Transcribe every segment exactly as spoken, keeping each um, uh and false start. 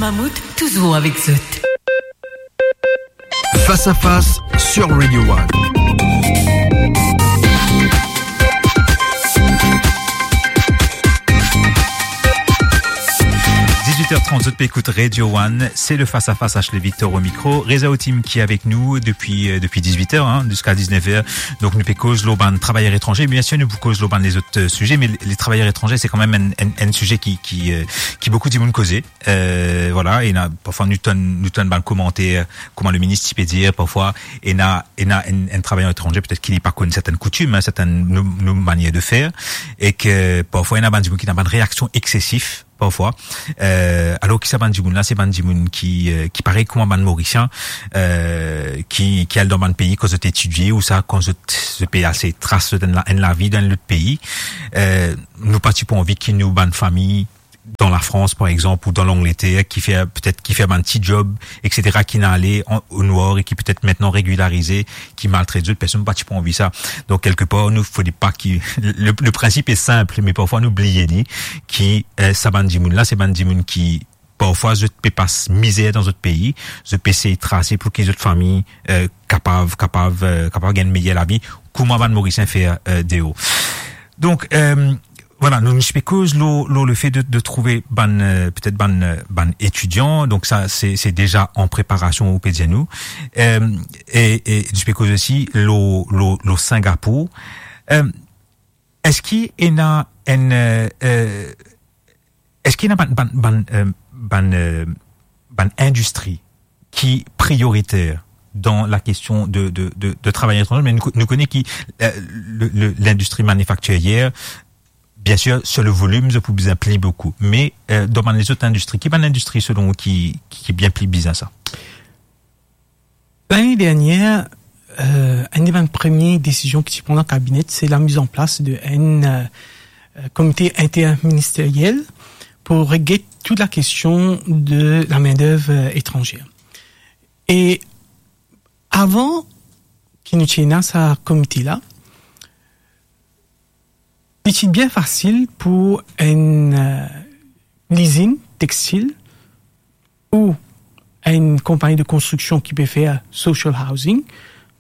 Mammouth, toujours avec zot. Face à face sur Radio One. Dix-huit heures trente, zot pe ekout Radio One, c'est le Face à Face, Ashley Victor au micro. Reza Otim ki avek nou depi, euh, depi dix-huit heures, hein, jusqu'à dix-neuf heures. Donk nou pe koz lor bann travayer etranze. Bien sûr, nou pou koz lor bann lezot, euh, size, me le, le travayer etranze, se kanmem enn, enn, enn size ki, ki, euh, ki boukou dimoun koze. Euh, voilà, ena, parfwa nou tann, nou tann bann komanter, kouma le minis ti pe dir, parfwa, ena, ena enn, enn travayer etranze, petet ki li pa konn sertenn koutim, hein, sertenn nou, nou manier de fer, e ke parfwa ena bann dimoun ki ena bann reaksion eksesif, parfwa. Euh, alor ki sa bann dimoun la, se bann dimoun ki, euh, ki parey kouma bann Morisien, euh, ki, ki al dan bann pei kan zot etidie, ou sa, kan zot, zot pe al sey tras zot enn la, enn lavi dan enn lot pei. Euh, nou pa ti pou anvi ki nou bann fami dan Lafrans, par exanp, ou dan Langleter, ki fer, petet ki fer bann ti job, et cetera, ki ena ale an, o nwar e ki petet aster regilarize, ki maltret zot, personn pa ti pou anvi sa. Donk, kelkepar, nou, fode pa ki, le, le prinsip est simple, me parfwa nou bliye li, ki, euh, sa bann dimoun la, se bann dimoun ki, parfwa, zot pe pas mizer dan zot pei, zot pe sey trase pou ki zot fami, euh, kapav, kapav, euh, kapav gagn meyer lavi, kouma bann Morisien fer, euh, deor. Donk, euh, voilà, nou, nou ti pe koz lor, lor lefe de, de trouve bann, euh, petet bann, euh, bann etidian. Donk sa, se, se deza an preparasion, ou pe dir nou. Euh, e, e nou ti pe koz osi lor, lor, lor Singapour. Euh, eski ena enn, euh, euh, eski ena bann, bann, bann, euh, bann, euh, bann indistri ki prioriter dan la kestion de, de, de, de travayer etranze, me nou, nou kone ki, euh, le, le, lindistri manifaktirier, bien sûr, sur le volume, zot pou bizin pli boukou. Me, euh, dan bann lezot indistri, ki bann indistri, selon ou, ki, ki, ki bien pli bizin sa? Lane dernier, euh, enn de bann premie desizion ki ti pran dan kabine, se la miz an plas de enn, euh, euh, komite interministeriel pou reget tou la kestion de la main-d'œuvre, euh, etranzer. E avan ki nou ti ena sa komite la, li ti bien fasil pou enn, euh, lizinn textil ou enn konpagni de konstriksion ki pe fer social housing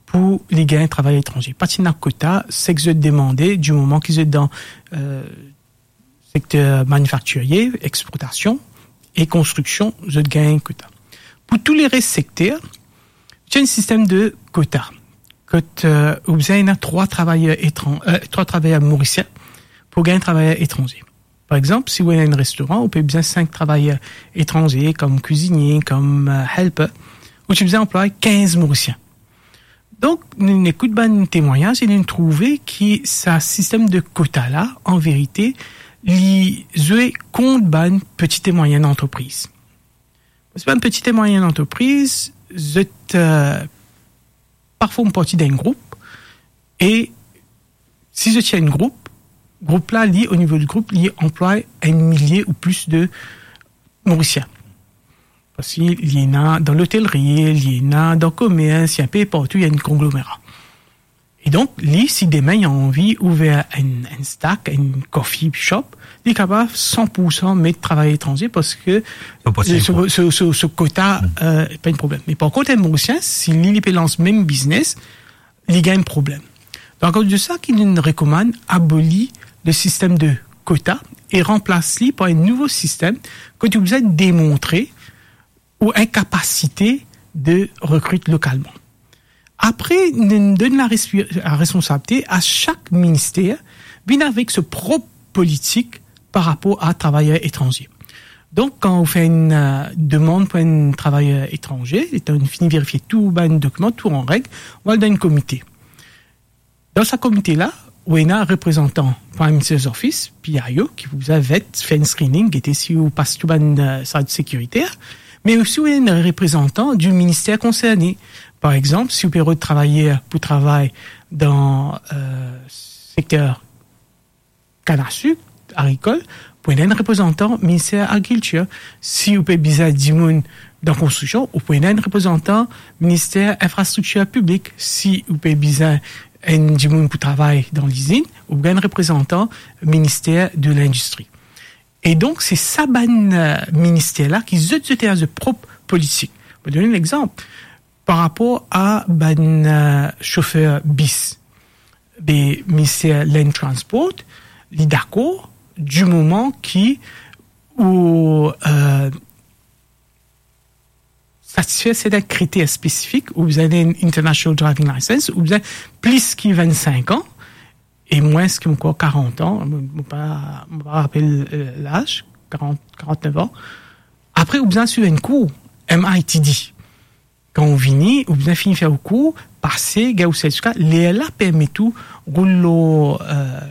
pou li gagn travayer etranze. Pa ti ena kota, seki zot demande, di moman ki zot dan, euh, sekter manifaktirie, exportasion e konstriksion, zot gagn kota. Pou tou leres sekter, ti ena enn sistem de kota. Kot, euh, ou bizin ena trwa travayer etran-, euh, trwa travayer morisien pou gagn travayer etranze. Par exanp, si ou ena enn restoran, ou pe bizin sink travayer etranze, kom kwizinie, kom, euh, helper, ou ti bizin anplway kinz Morisien. Donk, nou, nou ekout bann temwagnaz e nou trouve ki sa sistem de kota la, an verite, li zwe kont bann peti e mwayinn antrepriz. Parski bann peti e mwayinn antrepriz, zot, euh, pa form parti d'enn group, e si zot ti enn group, group la, li, o nivo di group, li anplway enn milie ou plis de Morisien. Parski li ena dan lotelri, li ena dan komers, li enpe partou, li enn konglomera. E donk, li, si demin li anvi ouver enn, enn stack, enn coffee shop, li kapav san pou san met travayer etranze parski so, so, so, so kota, euh, pa enn problem. Me par kont, enn Morisien, si li, li pe lans mem biznes, li gagn problem. Donk, akoz de sa ki nou rekomann aboli le sistem de kota e ranplas li par enn nouvo sistem kot ou bizin demontre ou enn kapasite de rekrit lokalman. Apre, nou donn la respi-, la responsabilite a sak minister vinn avek so prop politik par rapor a travayer etranze. Donk, kan ou fer enn, euh, demann pou enn travayer etranze, letan ou fini verifie tou bann dokiman, tou an reg, ou al dan enn komite. Dan sa komite la, ou ena reprezantan Prime Minister's Office, P I O, ki pou bizin vet, fer enn screening, gete si ou pas tou bann, euh, sa sekiriter, me osi ou ena reprezantan di minister konserne. Par exanp, si ou pe rod travayer pou travay dan, euh, sekter kann a sik, agrikol, pou ena enn reprezantan minister agrikiltir. Si ou pe bizin dimoun dan konstriksion, ou pou ena enn reprezantan minister infrastriktir piblik. Si ou pe bizin enn dimoun pou travay dan lizinn, ou pou gagn enn reprezantan minister de lindistri. E donk, se sa bann, eh, minister la ki zot, zot ena zot prop politik. Mo donn enn lexanp. Par rapor a bann, eh, sofer bis, be, minister Land Transport, li dakor, di moman ki ou, eh, satisfer sertin kriter spesifik, ou bizin enn International Driving License, ou bizin plis ki vinn-sink an, e mwins ki ankor karant an, mo, mo pa, mo pa rapel, eh, laz, karant, karant-nef an. Apre, ou bizin swiv enn kour, M I T D. Kan ou vini, ou bizin fini fer ou kour, pase, gagn ou sertifika, lerla permet ou roul lor, eh,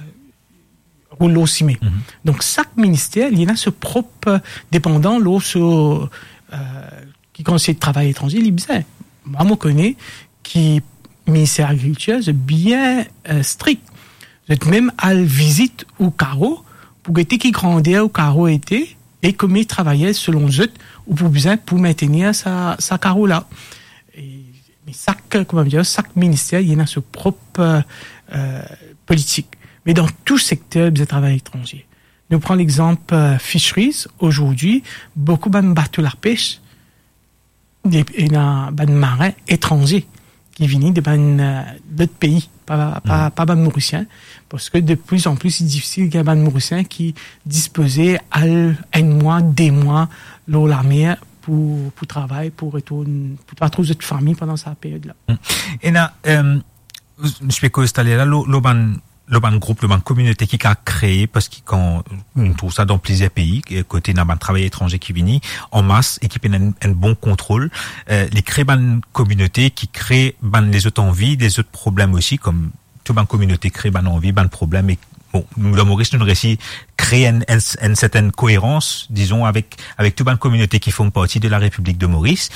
roul lor sime. Mhm. Donk, sak minister, li ena so prop, eh, depandan lor so, eh, ki kantite travayer etranze li bizin. Mwa, mo kone ki minister agrikiltir, zot bien, eh, strik. Zot mem al vizit ou karo pou gete ki grander ou karo ete e konbien travayer, selon zot, ou pou bizin pou mintenir sa, sa karo la. E, me sak, kouma dir, sak minister, li ena so prop, eh, politik. Me dan tou sekter, bizin travayer etranze. Nou pran lexanp, eh, fisheries. Azordi, boukou bann bato lapes, de, ena bann marin etranze ki vini de bann, eh, lot pei, pa, pa, Hmm. pa bann Morisien, parski de pli an pli, li difisil gagn bann Morisien ki dispoze al enn mwa, de mwa lor lamer pou, pou travay, pou retourn, pou pa trouv zot fami pandan sa period la. Hmm. Ena, eh, nou ti pe koz taler la, lor, lor bann, lor bann group, lor bann kominote ki kapav kree, parski kan nou trouv sa dan plizier pei, eh, kot ena bann travayer etranze ki vini an mas e ki pena enn, enn bon kontrol, eh, li kree bann kominote ki kree bann lezot anvi, lezot problem osi, kom tou bann kominote kree bann anvi, bann problem, e bon, nou dan Moris, nou resi kree enn, enn, enn sertin koerans, dizon, avek, avek tou bann kominote ki form parti de la Repiblik de Moris.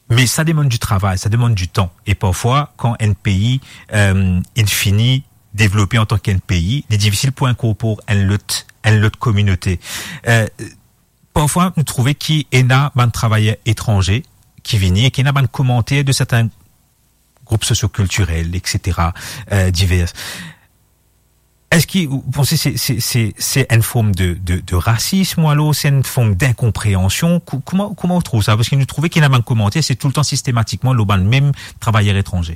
Me sa demann di travay, sa demann di tan. E parfwa, kan enn pei, eh, inn fini devlope antan ki enn pei, li difisil pou inkorpor enn lot, enn lot kominote. Eh, parfwa, nou trouve ki ena bann travayer etranze ki vini e ki ena bann komanter de sertin group sosiokiltirel, et cetera, eh, diver. Eski ou panse se, se, se, se enn form de, de, de rasism, ou alor se enn form dinkonpreansion? Kou-, kouma, kouma ou trouv sa? Parski nou trouve ki ena bann komanter, se toultan sistematikman lor bann mem travayer etranze.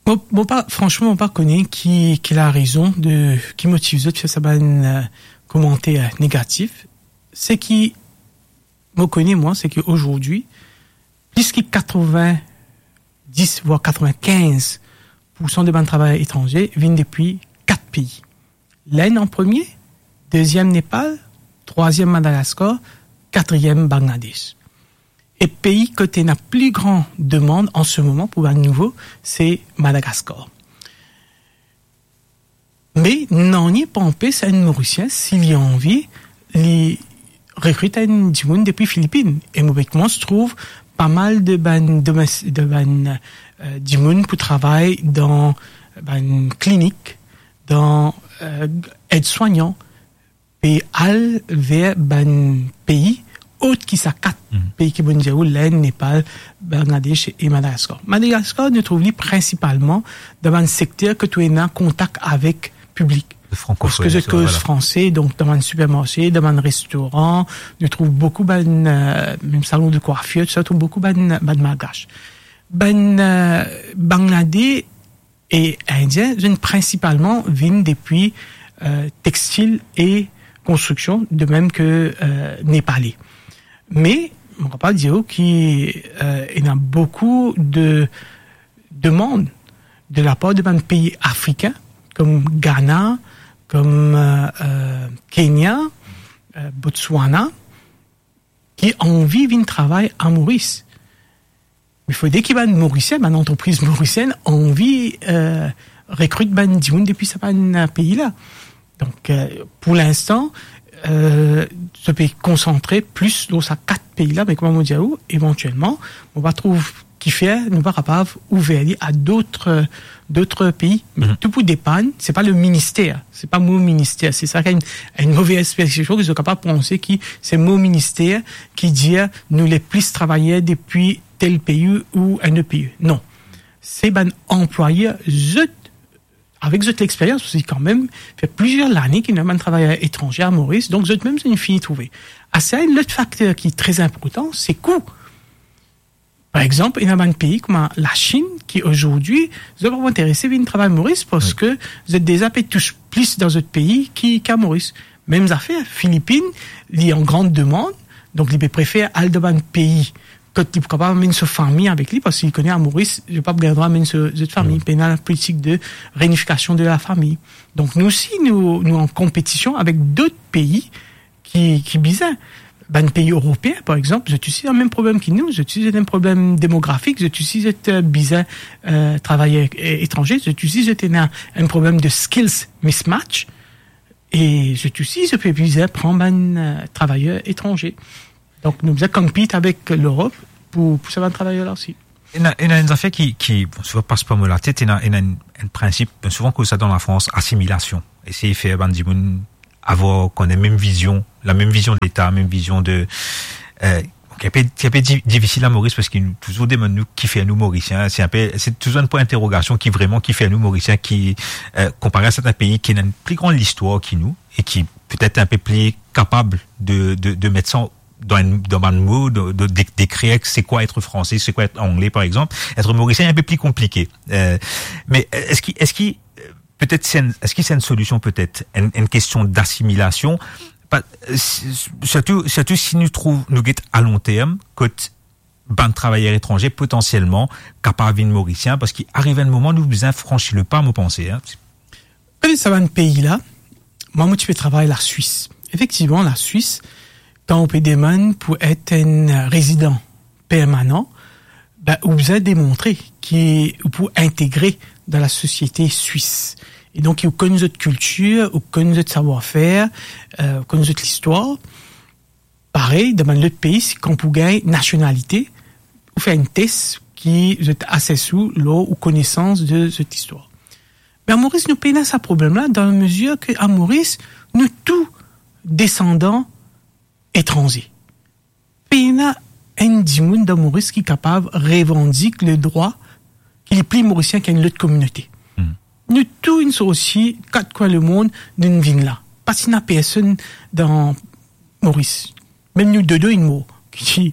Mo, mo pa, fransman, mo pa kone ki, ki larezon de, ki motiv zot fer sa bann, eh, komanter negatif. Seki mo kone, mwa, seki azordi, plis ki katrovin-dis, vwar katrovin-kinz poursan de bann travayer etranze vinn depi kat pei. Lenn an premie, deziem Nepal, trwaziem Madagaskar, katriem Bangladesh. E pei kot ena pli gran demann an se moman pou bann nouvo, se Madagaskar. Me nanye pa anpes enn Morisien, si li anvi, li rekrit enn dimoun depi Filipin. E mo pe koumans trouv pa mal de bann domes-, de bann, eh, dimoun pou travay dan bann klinik, dan, eh, edswagnan, pe al ver bann pei ot ki sa kat Mhm. pei ki mo dir ou, Lenn, Nepal, Bangladesh e Madagaskar. Madagaskar, nou trouv li prinsipalman dan bann sekter kot ou ena kontak avek piblik. Parski zot koz franse, donk dan bann sipermarse, dan bann restoran, nou trouv boukou bann, eh, mem salon de kwafir, tousa, trouv boukou bann, bann Malgash. Bann, eh, Bangladesh e Indien, zot inn prinsipalman vinn depi, eh, textil e konstriksion, de mem ke, eh, Nepale. Me, mo kapav dir ou ki, eh, ena boukou de demann de lapar de bann pei afrikin, kom Ghana, kom, eh, eh, Kenya, eh, Botswana, ki anvi vinn travay a Moris. Me fode ki bann Morisien, bann antrepriz morisienn anvi, eh, rekrit bann dimoun depi sa bann, eh, pei la. Donk, eh, pou linstan, eh, zot pe konsantre plis lor sa kat pei la, me kouma mo dir ou, evantielman, mo pa trouv kifer nou pa kapav ouver li a dot, dot pei. Me Mhm. tou pou depann, se pa le minister, se pa mo minister, se sa ki enn, enn move ekspresion ki zot kapav panse ki se mo minister ki dir nou le plis travayer depi tel pei ou enn lot pei. Non. Se bann anplwayer, zot avek zot lexperyans, parski kanmem fer plizier lane ki ena bann travayer etranze a Moris, donk zot mem zot inn fini trouve. Ase, enn lot fakter ki tre inportan, se kou. Par exanp, ena bann pei kouma Lasinn ki azordi, zot pa interese vinn travay Moris, parski zot deza pe tous plis dan zot pei ki, ki a Moris. Mem zafer, Filipin, li an gran demann, donk li pe prefer al dan bann pei kot li pou kapav amenn so fami avek li, parski li kone a Moris, li pa pou gagn drwa amenn so, zot fami. Pena politik de reunifikasion de lafami. Donk nou osi, nou, nou an konpetision avek dot pei ki, ki bizin. Bann pei eropeen, par exanp, zot osi ena mem problem ki nou, zot osi ena problem demografik, zot osi zot, eh, bizin, eh, travayer, eh, etranze, zot osi zot ena enn problem de skills mismatch, e zot osi zot pe bizin pran bann, eh, travayer etranze. Donk nou bizin compete avek Lerop pou, pou sa bann travayer la osi. Ena, ena enn zafer ki, ki, bon, souvan pas par mo latet, ena, ena enn, enn prinsip, bon, souvan koz sa dan Lafrans, asimilasion. Esey fer bann dimoun avoir, kone mem vizion, lamem vizion de Leta, mem vizion de, eh, ok, inpe, inpe di-, difisil a Moris parski nou touzour demann nou ki fer nou Morisien. Se inpe, se touzour enn pwin interogasion ki vreman ki fer nou Morisien, ki, eh, konpare a sertin pei ki ena enn pli gran listwar ki nou e ki petet inpe pli kapab de, de, de met sa dan enn, dan bann mo, de, de, de, dekrir se kwa etre franse, se kwa etre angle, par exanp. Etre Morisien inpe pli konplike. Eh, me eski, eski, eh, petet se enn, eski se enn solision, petet enn, enn kestion dasimilasion, pa, s-, s-, sirtou, sirtou si nou trouv, nou get a long term, kot bann travayer etranze potansielman kapav vinn Morisien, parski ariv enn moman nou bizin fransi lepa, mo panse, hein. Kone sa bann pei la, mwa, mo ti pe travay Laswis. Efektivman, Laswis, kan ou pe demann pou et enn rezidan permanan, be, ou bizin demontre ki ou pou integre dan lasosiete swis. E donk, ou konn zot kiltir, ou konn zot savwar-fer, eh, ou konn zot listwar. Parey, dan bann lot pei, si kan pou gagn nasionalite, ou fer enn tes ki zot ases ou lor ou konesans de zot listwar. Me a Moris, nou pena sa problem la, dan lamezir ke a Moris, nou tou desandan etranze. Pena enn dimoun dan Moris ki kapav revandik ledrwa ki li pli Morisien ki enn lot kominote. Hmm. Nou tou inn sorti kat kwin lemond, nou vinn la. Pa ti ena personn dan Moris. Mem nou Dodo inn mor. Ki,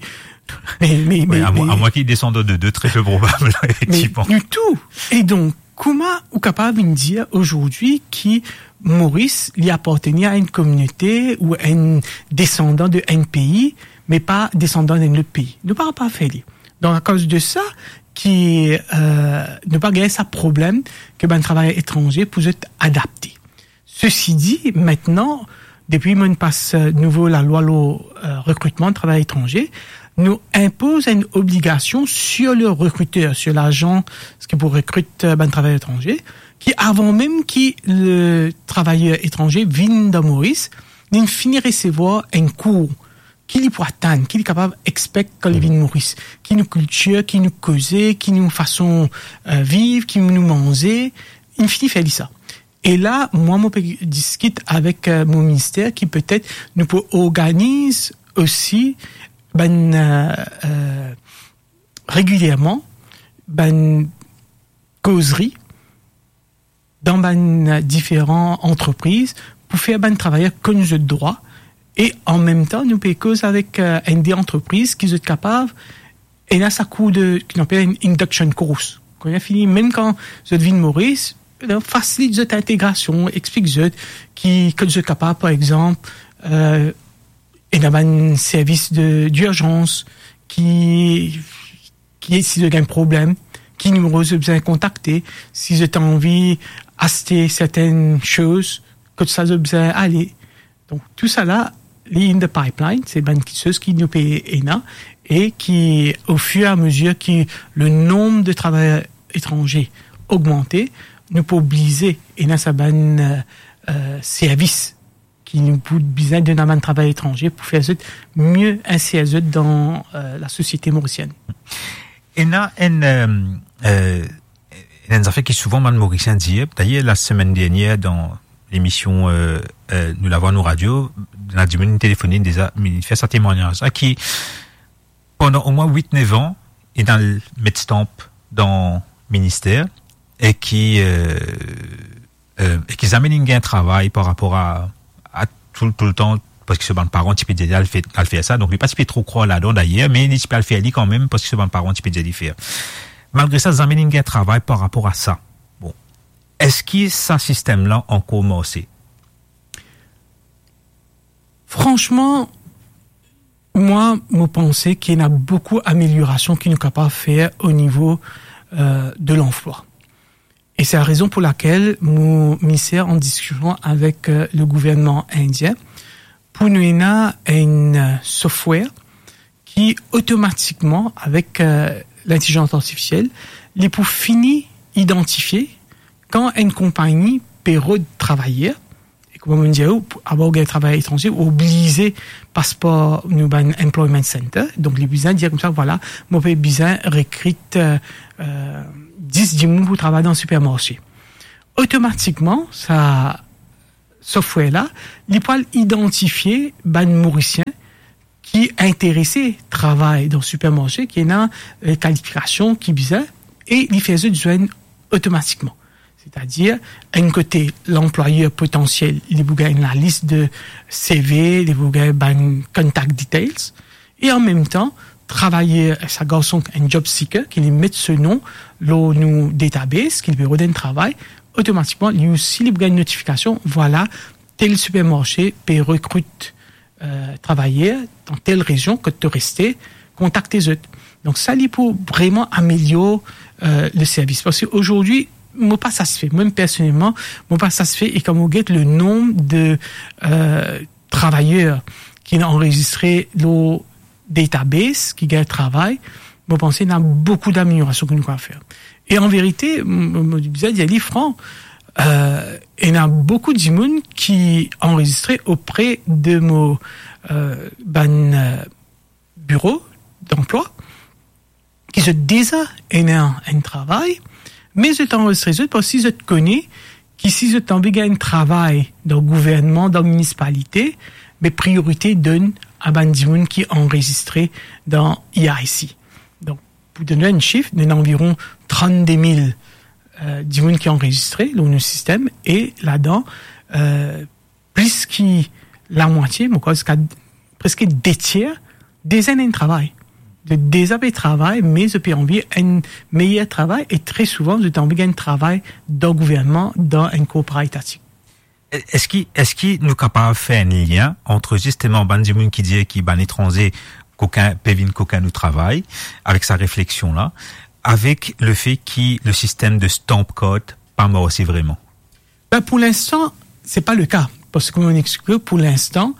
me, me, Wi, me, a mo-, me amwin ki desandan Dodo, tre pe probab, la, me efektivman. Nou tou. E donk, kouma ou kapav vinn dir azordi ki Moris, li apartenir a enn kominote ou enn desandan de enn pei, me pa desandan d'enn lot pei? Nou pa kapav fer li. Donk, akoz de sa, ki, eh, nou pa gagn sa problem ke bann travayer etranze pou zot adapte. Sesi di, aster, depi mo'nn pas, eh, nouvo lalwa lor, eh, rekritman travayer etranze, nou inpoz enn obligasion sur le recruteur, sur lazan ki pou rekrit, eh, bann travayer etranze, ki avan mem ki le travayer etranze vinn dan Moris, li fini resevwar enn kour ki li pou atann, ki li kapav expect kan li vinn Moris, ki nou kiltir, ki nou koze, ki nou fason, eh, viv, ki nou manze, li fini fer li sa. E la, mwa, mo pe diskit avek, eh, mo minister ki petet nou pou organiz osi bann, eh, eh, regilierman, bann kozri dan bann diferan antrepriz pou fer bann travayer konn zot drwa e anmemtan nou pe koz avek, eh, enn de antrepriz ki zot kapav ena sa kour de, ki nou apel enn induction course. Kan zot fini, mem kan zot vinn Moris, eh, fasilit zot integrasion, explik zot ki, kot zot kapav, par exanp, eh, ena bann servis de, dirzans ki, ki, si zot gagn problem, ki nimero zot bizin kontakte, si zot anvi aste sertenn soz, kot sa zot bizin ale. Donk, tousala, li in the pipeline, se bann kiksoz ki nou pe ena, e ki, au fur et à mesure ki le nombre de travailleurs étrangers ogmante, nou pou oblize ena sa bann, eh, eh, servis ki nou pou bizin donn a bann travayer etranze pou fer zot mie inser zot dan, eh, lasosiete morisienn. Ena enn, eh, eh, ena enn zafer ki souvan bann Morisien dir, dayer, lasemenn dernier, dan lemision, eh, eh, Nou Lavwa Nou Radio, ena dimoun telefonn deza, li fer sa temwagnaz la, ki pandan omwin wit, nef an, li al met stamp dan minister e ki, eh, eh, e ki zame linn gagn travay par rapor a, a tou, toultan, parski so bann paran ti pe dir li al fer, al fer sa, donk li pa ti pe tro krwar ladan dayer, me li ti pe al fer li kanmem, parski so bann paran ti pe dir li fer. Malgre sa, zame linn gagn travay par rapor a sa. Bon, eski sa sistem la ankor marse? Franchement, mwa, mo panse ki ena boukou ameliorasion ki nou kapav fer o nivo, euh, de lanplwa. E se la rezon pou lakel mo, mi ser an diskision avek, euh, le gouvernman indien pou nou ena enn, euh, software ki otomatikman, avek, euh, lintelizans artifisiel, li pou fini idantifie kan enn konpagni pe rod travayer, e kouma mo dir ou, pou, avan ou gagn travay etranze, ou oblize pas par nou bann employment center. Donk, li bizin dir koumsa, vwala, mo pe bizin rekrit, euh, euh, dis dimoun pou travay dan sipermarse. Otomatikman, sa software la, li pou al idantifie bann Morisien ki interese travay dan sipermarse, ki ena, euh, kalifikasion ki bizin, e li fer zot zwenn otomatikman. Setadir, enn kote, lanplwayer potansiel, li pou gagn lalis de C V, li pou gagn bann contact details, e an mem tan, travayer, sa garson, enn job seeker, ki li met so nom lor nou database, ki li pe rod enn travay, otomatikman, li osi, li pou gagn notifikasion, vwala, tel sipermarse pe rekrit, euh, travayer dan tel rezion kot to reste, kontakte zot. Donk sa, li pou vreman amelior, euh, le servis. Parski azordi, mo pa satisfe. Mwa, personelman, mo pa satisfe, e kan mo get le nonb de, euh, travayer ki anrezistre lor database, ki gagn travay, mo panse ena boukou dameliorasion ki nou kapav fer. E an verite, m-, m-, mo bizin dir li fran, euh, ena boukou dimoun ki anrezistre opre de mo, euh, bann, euh, biro danplwa, ki zot deza ena enn travay, me zot anrezistre zot parski zot kone ki si zot anvi gagn travay dan gouvernman, dan minisipalite, be priorite donn a bann dimoun ki anrezistre dan E I C. Donk, pou donn enn sif, nou ena anviron trannde mil, euh, dimoun ki anrezistre lor nou sistem, e ladan, euh, plis ki lamwatie, mo krwar ziska preske de tier, deza ena enn travay. Zot deza pe travay, me zot pe anvi enn meyer travay, e tre souvan, zot anvi gagn travay dan gouvernman, dan enn korporativ. E-, eski, eski nou kapav fer enn lien ant zisteman bann dimoun ki dir ki bann etranze kokin, pe vinn kokin nou travay, avek sa refleksion la, avek lefe ki le sistem de stamp card pa marse vreman? Ben, pou linstan, se pa le ka. Parski, kouma mo explike, pou linstan,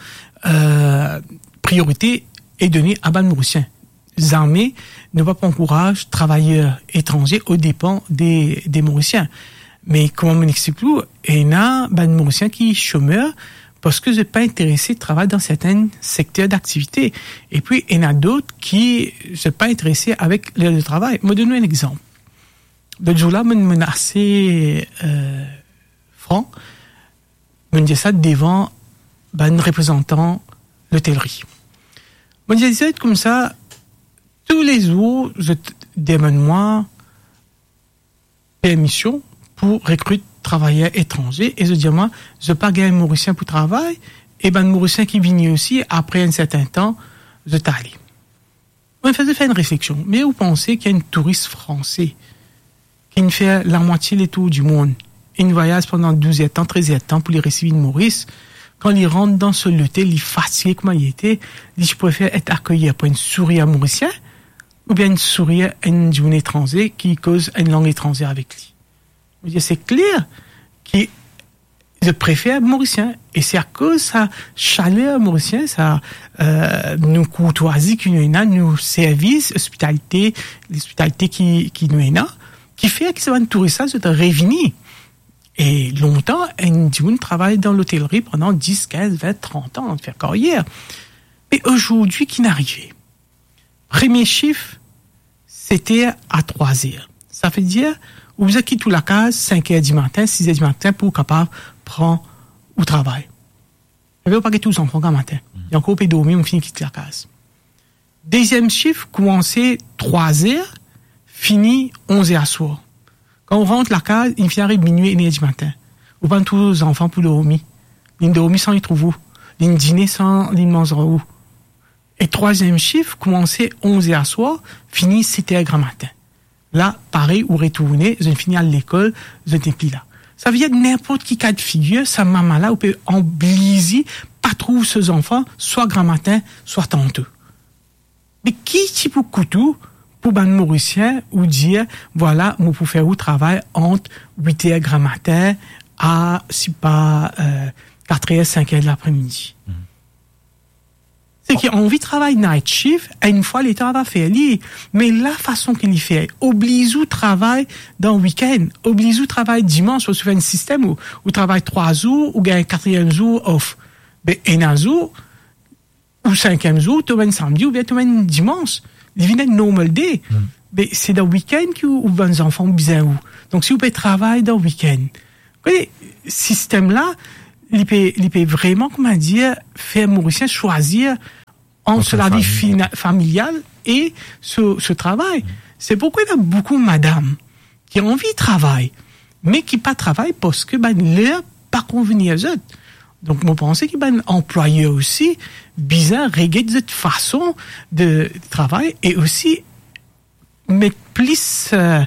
euh, priorite e done a bann Morisien. Zame nou pa pou ankouraz travayer etranze o depan de, de Morisien. Me kouma mo explike ou, ena bann Morisien ki somer parski zot pa interese travay dan sertin sekter daktivite. Epi, ena dot ki zot pa interese avek ler de travay. Mo donn ou enn exanp. Lot zour la, mo, mo ase, euh, fran, mo dir sa devan bann reprezantan lotelri. Mo dir zot koumsa, toulezour, zot demann mwa permision pou rekrit travayer etranze, e zot dir mwa, zot pa gagn Morisien pou travay, e bann Morisien ki vini osi, apre enn sertin tan, zot ale. Mo fer zot fer enn refleksion. Me ou panse ki enn touris franse ki'nn fer lamwatie letour dimond, inn vwayaz pandan douz er tan, trez er tan pou li resi vinn Moris, kan li rant dan so lotel, li fatige kouma li ete, li ti prefer et akeyi par enn sourir Morisien oubien enn sourir enn dimoun etranze ki koz enn lang etranze avek li? Mo dir, se kler ki zot prefer Morisien. E se akoz sa saler Morisien, sa, euh, nou kourtwazi ki nou ena, nou servis, ospitalite, lospitalite ki, ki nou ena, ki fer ki sa bann touris la, zot revini. E lontan, enn dimoun travay dan lotelri pandan dis, kinz, vin, trant an, fer karyer. Me azordi, ki'nn arive? Premie sif, set er a trwa er. Savedir, ou bizin kit ou lakaz sink er dimatin, sis er dimatin pou ou kapav pran ou travay. Savedir ou pa get ou zanfan gramatin. Hmm. Li ankor pe dormi, ou finn kit lakaz. Deziem sif koumanse trwa er, fini onz er aswar. Kan ou rant lakaz, li finn ariv minwi, enn er dimatin. Ou pa'nn trouv zanfan pou dormi. Li'nn dormi san li trouv ou. Li'nn dine san li'nn manz ar ou. E trwaziem sif, koumanse onz er aswar, fini set er gramatin. La, parey, ou retourne, zot fini al lekol, zot nepli la. Savedir, ninport ki ka de figir, sa mama la, ou pe oblize pa trouv so zanfan, swa gramatin, swa tanto. Me ki ti pou kout ou, pou bann Morisien, ou dir, vwala, mo pou fer ou travay ant wit er gramatin a, sipa, eh, kat er, sink er de lapremidi? Mhm. Seki anvi travay night shift, enn fwa letan li va fer li. Me lafason ki li fer, obliz ou travay dan wikenn, obliz ou travay dimans, parski fer enn sistem ou, ou travay trwa zour, ou gagn katriem zour off. Be ena zour, ou sinkiem zour, to amenn samdi oubien to amenn dimans. Li vinn enn normal day. Hmm. Me se dan wikenn ki ou, ou bann zanfan bizin ou. Donk si ou pe travay dan wikenn, kone, sistem la, li pe, li pe vreman, kouma dir, fer Morisien swazir ant so lavi fina-, familial e so, so travay. Se pourkwa ena boukou madam ki anvi travay, me ki pa travay parski bann ler pa konvini zot. Donk, mo panse ki bann anplwayer osi bizin reget zot fason de travay e osi met plis, eh,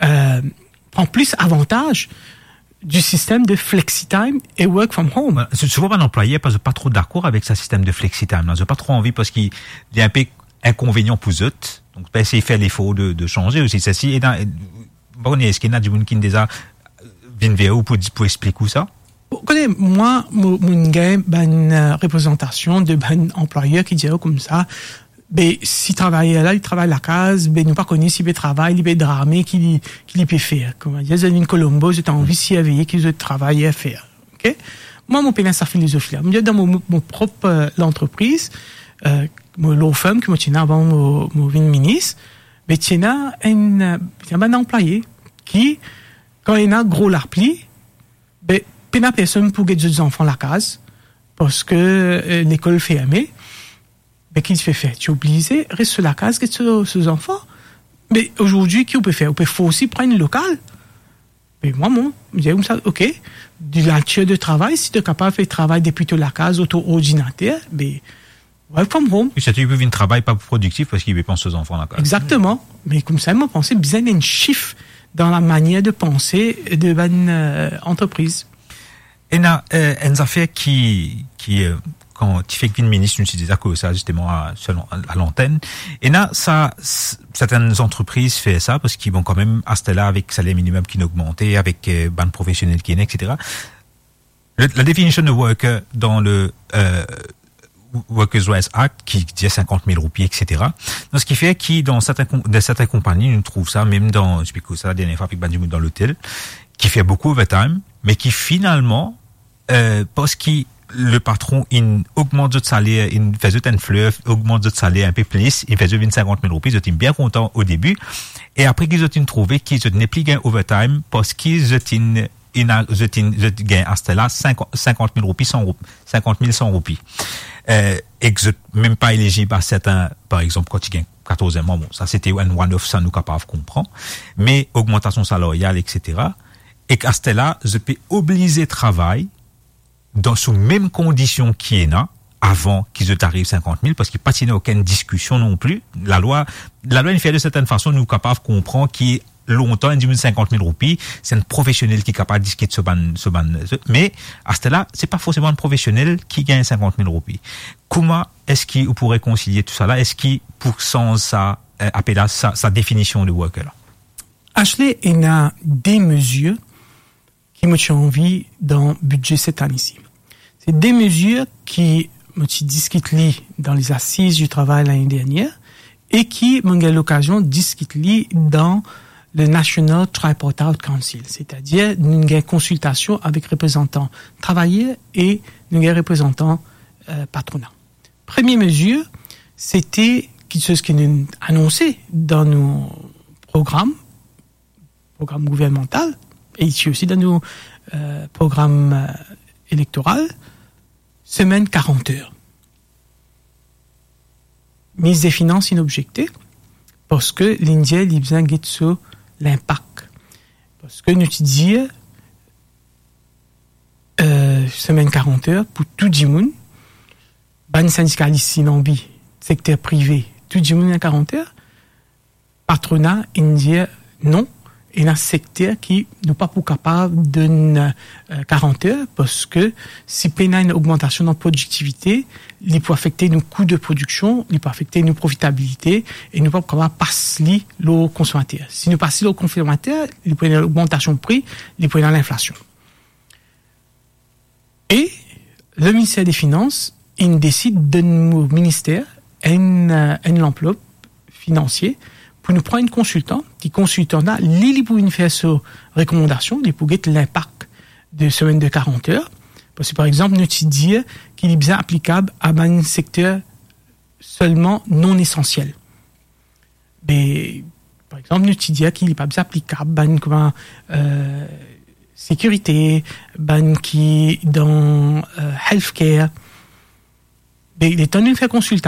eh, pran plis avantaz di sistem de flexi time e work from home. Bon, se, souvan bann anplwayer pa, pa tro dakor avek sa sistem de flexi time la. Zot pa tro anvi parski li enpe inkonvenian pou zot. Donk, pa esey fer lefor de, de sanze osi. Seki ena, pa kone, eski ena dimoun ki deza vinn ver ou pou di, pou explik ou sa? Bon, kone, mwa, mo, mo gagn bann, eh, reprezantasion de bann anplwayer ki dir koumsa, be, si travayer la, li travay lakaz, be, nou pa kone si li pe travay, li pe drame, ki li, ki li pe fer. Kouma dir, zot vinn Colombo, zot anvi sirveye ki zot travayer fer. Ok? Mwa, mo pena sa filozofi la. Mo dir, dan mo, mo, mo prop, eh, lantrepriz, eh, mo law firm ki mo ti ena avan mo, mo vinn minis, be, ti ena enn, eh, ti ena bann anplwaye ki, kan ena gro lapli, be, pena personn pou get zot zanfan lakaz, parski, eh, lekol ferme. Be, ki ti pe fer? Ti oblize res so lakaz get so, so zanfan. Me azordi, ki ou pe fer? Ou pe forse pran enn lokal. Me mwa, mo, mo dir koumsa, ok, de natir de travay, si to kapav fer travay depi to lakaz, lor to ordinater, be, work from home. E sirtou, li pou vinn travay pa prodiktif parski li pe pans so zanfan lakaz. Exactement. Me koumsa, mo panse bizin enn shift dan lamanier de panse de bann, eh, antrepriz. Ena, eh, enn zafer ki, ki, eh, kan ti fek vinn minis, nou ti deza koz sa, zisteman, a, selon, a, a lantenn. Ena sa, s-, sertenn zantrepriz fer sa, parski, bon, kanmem, aster la, avek saler minimem ki'nn ogmante, avek, eh, bann profesionel ki ena, et cetera. Le, la definition de worker dan le, eh, Workers' Rights Act, ki dir sinkant mil roupi, et cetera. Donk, seki fer ki dan sertenn kon-, dan sertenn konpagni, nou trouv sa, mem dan, explikou sa, dernie fwa, avek bann dimoun dan lotel, ki fer boukou overtime, me ki finalman, eh, parski lepatron inn ogmant zot saler, inn fer zot enn fler, ogmant zot saler enpe plis, inn fer zot vinn sinkant mil roupi, zot inn bien kontan o debi, e apre ki zot inn trouve ki zot nepli gagn overtime, parski zot inn inn a-, zot inn, zot gagn aster la sinkant, sinkant mil roupi, san roup-, sinkant mil san roupi. Eh, ek zot mem pa elizib a serten, par exanp, kan ti gagn katorz mwa, bon, sa se ti enn one-off, sa nou kapav konpran. Me ogmantasion salaryal, et cetera. Ek aster la, zot pe oblize travay dan sou mem kondision ki ena avan ki zot ariv sinkant mil, parski pa ti ena okenn diskision non pli. Lalwa, lalwa inn fer de sertenn fason, nou kapav konpran ki lontan, enn dimoun sinkant mil roupi, se enn profesionel ki kapav diskit so bann, so bann, so, me aster la, se pa forseman enn profesionel ki gagn sinkant mil roupi. Kouma eski ou pou rekonsilie tou sa la? Eski pou sanz sa, eh, apel sa, sa definision de worker la? Ashley, ena de mezir ki mo ti anvi dan bidze set ane si. Se de mezir ki mo ti diskit li dan lezasiz di travay lane dernier e ki mo gagn lokazion diskit li dan le National Tripartite Council, setadir nou gagn konsiltasion avek reprezantan travayer e nou gagn reprezantan, eh, patrona. Premie mezir, se ti kiksoz ki nou anonse dan nou program, program gouvernmantal, e isi osi dan nou, eh, program, eh, elektoral, semenn karant er. Minis de Finans inn objekte, parski li dir li bizin get so linpak. Parski nou ti dir, eh, semenn karant er pou tou dimoun. Bann sindikalis inn anvi, sekter prive, tou dimoun ena karant er. Patrona inn dir non, ena sekter ki nou pa pou kapav donn, eh, karant er, parski si pena enn ogmantasion dan prodiktivite, li pou afekte nou kou de prodiksion, li pou afekte nou profitabilite, e nou pa pou kapav pas li lor konsomater. Si nou pas li lor konsomater, li pou ena ogmantasion pri, li pou ena linflasion. E le minister de finans inn desid donn nou minister enn, eh, enn lanplop finansie pou nou pran enn konsiltan, ki konsiltan la, li, li pou vinn fer so rekomandasion, li pou get linpak de semenn de karant er. Parski, par exanp, nou ti dir ki li bizin aplikab a bann sekter selman non esansiel. Be, par exanp, nou ti dir ki li pa bizin aplikab bann kouma, eh, sekirite, bann ki dan, eh, healthcare. Be, letan nou fer konsilta